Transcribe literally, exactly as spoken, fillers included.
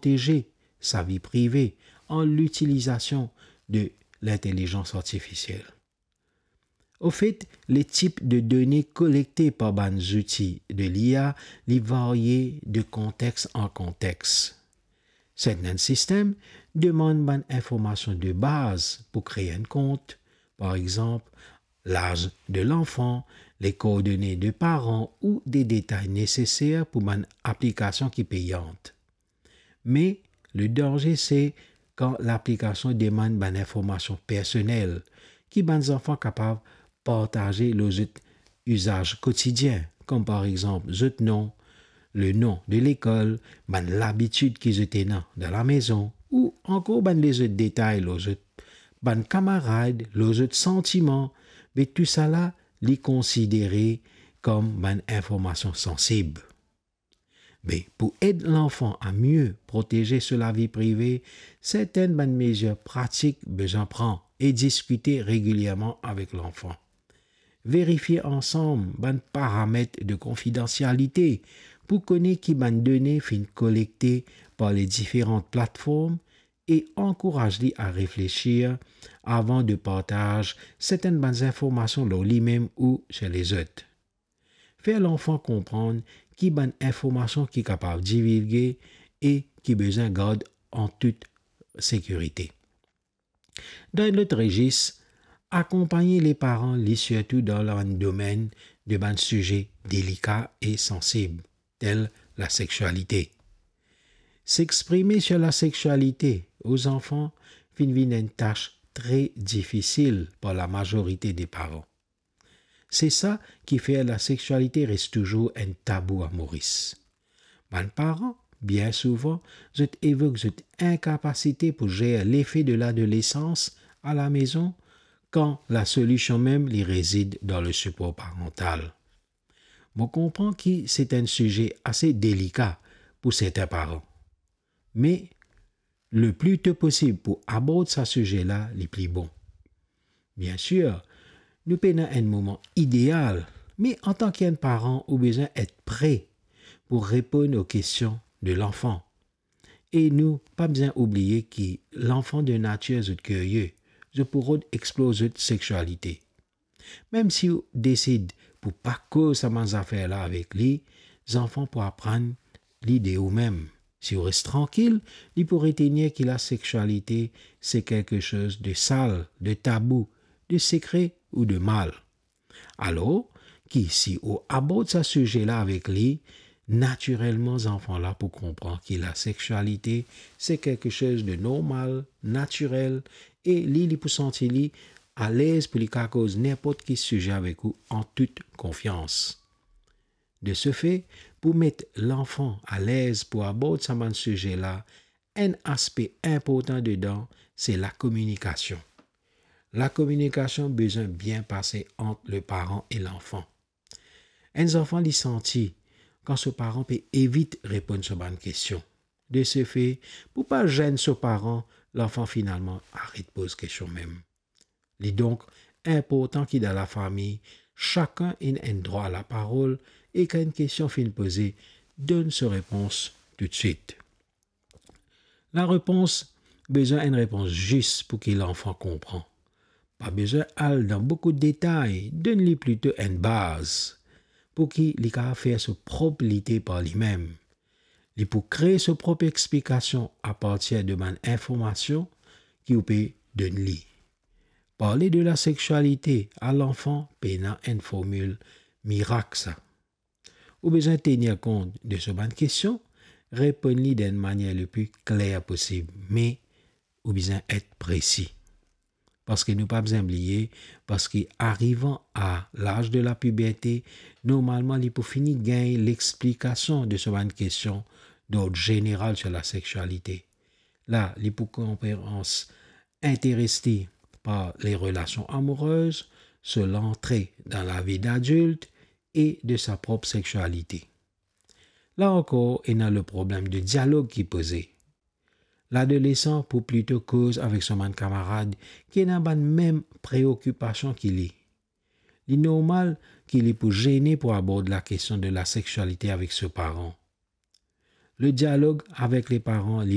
proteze sa vi prive an litilizasion de lintelizans artifisiel. Ofet, le tip de done kolekte par bann zouti de l'I A, li varye de kontex an kontex. Sertenn sistem demann bann informasion de baz pou kree enn kont, par exanp, laz de lanfan, le koordone de paran ou de detay neseser pou bann aplikasion ki peyan. Me le danze se kan laplikasion demann bann informasion personel ki bann zanfan kapav partaze lor zot izaz kotidien, kom par exanp zot nom, le nom de lekol, bann labitid ki zot ena dan lamezon, ou ankor bann lezot detay lor zot, bann kamarad, lor zot santiman, be tousala li konsidere kom bann informasion sansib. Be pou ed lanfan a mie proteze so lavi prive, sertenn bann mezir pratik bizin pran e diskite regilierman avek lanfan. Verifie ansam bann paramet de konfidansialite pou kone ki bann done finn kolekte par le diferan platform e ankouraz li a reflesir avan de partaz sertenn bann informasion lor limem ou sir lezot. Fer lanfan konpran ki bann informasion ki kapav divilge e ki bizin gard an tout sekirite. Dan enn lot rezis, akonpagn leparan li sirtou dan bann domenn de bann size delika e sansib, tel lasexialite. S'exprime sir lasexialite o zanfan finn vinn enn tas tre difisil par lamazorite de paran. Se sa ki fer lasexialite res touzour enn tabou a Moris. Bann paran, bien souvan, zot evok zot inkapasite pou zer lefe de ladolesans a lamezon, kan lasolision mem li rezid dan lesipor parantal. Mo konpran ki se enn size ase delika pou sertin paran. Me le pli to posib pou abord sa size la, li pli bon. Bien sir, nou pena enn moman ideal, me antan ki enn paran, ou bizin et pre pou reponn o kestion de lanfan. E nou pa bizin oubliye ki lanfan de natir zot kirie, zot pou rod explor zot sexialite. Mem si ou desid pou pa koz sa bann zafer la avek li, zanfan pou aprann li de oumem. Si ou res trankil, li pou retenir ki lasexialite se kelke soz de sal, de tabou, de sekre ou de mal. Alor ki si ou abord sa size la avek li, natirelman zanfan la pou konpran ki lasexialite se kelke soz de normal, natirel, e li, li pou santi li alez pou li kapav koz ninport ki size avek ou an tout konfians. De se fe, pou met lanfan alez pou abord sa bann size la, enn aspe inportan dedan, se lakominikasion. Lakominikasion bizin bien pase ant leparan e lanfan. Enn zanfan li santi kan so paran pe evit reponn so bann kestion. De se fe, pou pa zenn so paran, lanfan finalman aret poz kestion mem. Li donk inportan ki dan lafami, sakenn ena enn drwa laparol e kan enn kestion finn poze, donn so repons toutswit. Larepons bizin enn repons zis pou ki lanfan konpran. Pa bizin al dan boukou detay, donn li plito enn baz pou ki li kapav fer so prop lide par limem. Li pou kree so prop explikasion apartir de bann informasion ki ou pe donn li. Parle de lasexialite a lanfan pena enn formil mirak sa. Ou bizin tenir kont de so bann kestion, reponn li dan enn manier le pli kler posib, me ou bizin et presi. Parski nou pa bizin bliye, parski arivan a laz de lapiberte, normalman li pou fini gagn lexplikasion de so bann kestion dord zeneral sir lasexialite. La, li pou konperans interes li par le relasion amourez, so lantre dan lavi dadilt e de sa prop sexialite. La ankor, ena le problem de dialog ki poze. Ladolesan pou plito koz avek so bann kamarad ki ena bann mem preokipasion ki li. Li normal ki li pou zene pou abord lakestion de lasexialite avek so paran. Le dialog avek leparan, li